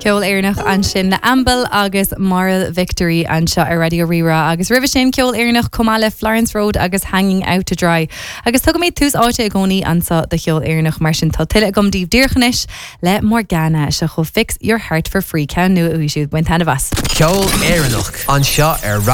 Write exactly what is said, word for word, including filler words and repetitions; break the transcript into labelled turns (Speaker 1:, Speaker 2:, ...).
Speaker 1: Ceol Éireannach ansin le Amble agus Moral Victory anseo ar Raidió Rí-Rá agus roimhe sin ceol Éireannach chomh maith le Florence Road agus Hanging Out to Dry. Agus tugaimid tús áite i gcónaí anseo do cheol Éireannach mar sin tá tuilleadh agam daoibh díreach anois le Morgana seo chugaibh Fix Your Heart for Free ceann nua uaithi siúd bain taitneamh as.
Speaker 2: Ceol Éireannach anseo ar Raidió